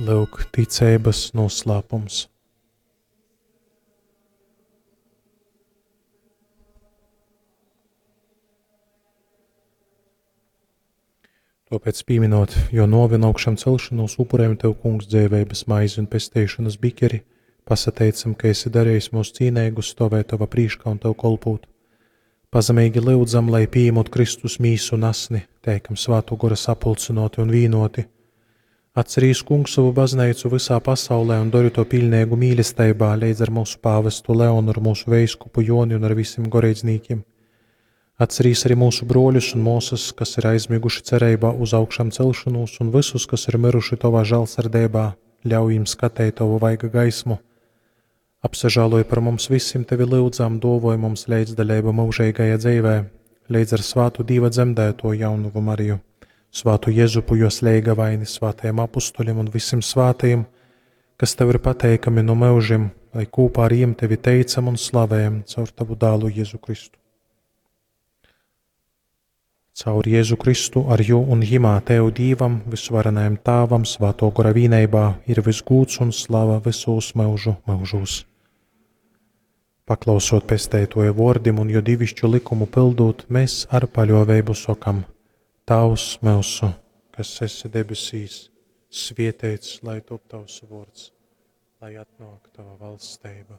Lyuk, ticeibas noslēpums. Tōpēc pīminot jō nōvi un augšamcelšanos, upurējam Tev, Kungs, dzeiveibas maizi un pesteišonas bikeri, pasateicam, ka esi darījis mūs cīneigus stovēt Tova prīškā un Tev kolpūt. Pazemeigi lyudzam, lai pīejamot Kristus mīsu un asni, teikam Svātō Gora sapulcynōti un vīnōti. Atcerīs, Kungs, sovu bazneicu vysā pasaulē un dori to piļneigu mīlesteibā leidz ar mūsu pāvestu Leonu, ar mūsu veiskupu Joni un ar visiem goreidznīkiem. Atcerīs arī mūsu brōļus un māsas, kas ir aizmiguši cereibā uz augšām celšanos, un visus, kas ir miruši Tovā žālsirdībā, ļauj viņiem skatīt Tavu vaiga gaismu. Apsažāloj par mums visiem Tevi lyudzam, dovoj mums līdzdaļību mūžīgajā dzīvē, līdz ar svātu Dīva dzemdēto jaunavu Mariju, svātu Jezupu, jos leigavaini, svātajiem apustuļiem un visiem svātajiem, kas Tev ir pateikami no mūžiem, lai kopā ar jiem Tevi teicam un slavējam caur Tavu dālu Jēzu Kristu. Caur Jēzu Kristu, ar jū un jimā Tev Dīvam, visvarenajam Tāvam, Svāto Gora vīneibā ir visgūds un slava visos mūžu mūžos. Paklausot pesteitoja vordim un jo divišķu likumu pildūt, mēs ar paļoveibu sokam: Tavs mūsu, kas esi debesīs, svietēts, lai top tavs vords, lai atnāk tava valsteiba,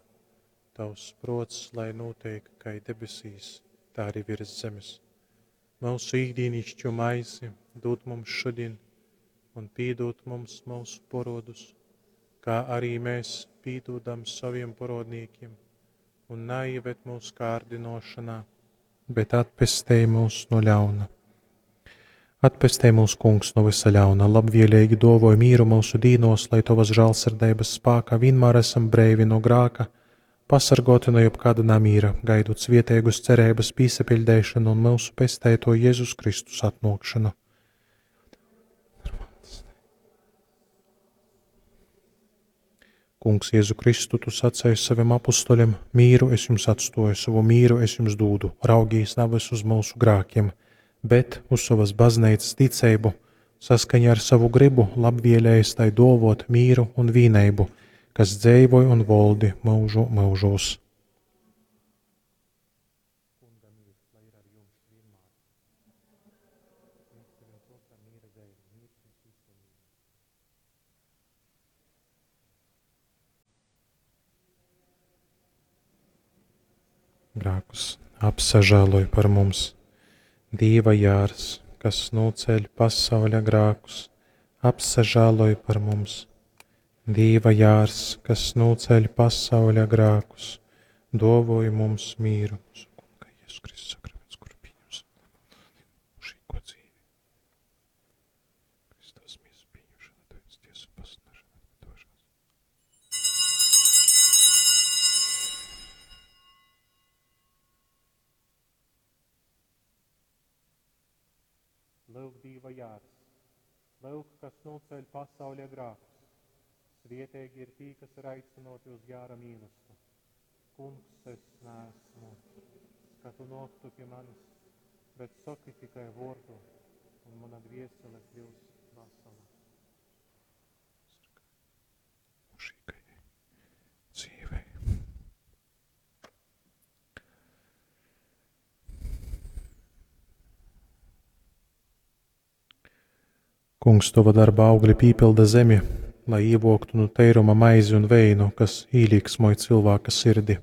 tavs prots, lai notiek, kā debesīs, tā arī virs zemes. Mūsu ikdienišķo maizi dod mums šodien, un piedod mums mūsu porodus, kā arī mēs piedodam saviem porodniekiem, un neieved mūsu kārdinošanā, bet atpestej mūs no ļauna. Atpestej mūs, Kungs, no visa ļauna, labvēlīgi dovoj mīru mūsu dīnos, lai Tavas žālsirdības spākā vienmēr esam breivi no grāka, pasargoti no jebkāda namīra, gaidot svietēgus cerības pīsapiļdēšanu un mūsu pestēto Jēzus Kristus atnākšanu. Kungs, Jēzu Kristu, tu sacēji saviem apustuļiem: mīru es jums atstoju, savu mīru es jums dūdu, raugīs nevis uz mūsu grākiem, bet uz savas baznīcas ticību, saskaņā ar savu gribu labvēlējis tai dovot mīru un vīneibu, kas dzēvoj un voldi mūžu mūžos. Grākus apsažēloj par mums. Dīva jārs, kas noceļ pasauļa grākus, apsažēloj par mums. Dīva jārs, kas noceļ pasauļa grākus, dovoj mums mīru. Mūsu Kunga Jēzus Kristus sakraments, kuru pieņemsim mūžīgo dzīvi. Kristus miesas pieņemšana, tavas tiesa pasludināšana, atdošanas. Lūk, Dīva jārs, lūk, kas noceļ pasauļa grākus. Svietīgi ir tī, kas ir aicinoti uz jāra mīlestību. Kungs, es neesmu, ka tu noktu pie manis, bet saki tikai vārdu, un mana dviesele kļūs vesela. Mūžīgajai dzīvei. Kungs, tava darba augļi pīpilda zemi, lai ievoktu no teiruma maizi un veinu, kas īlīksmoj cilvēka sirdi.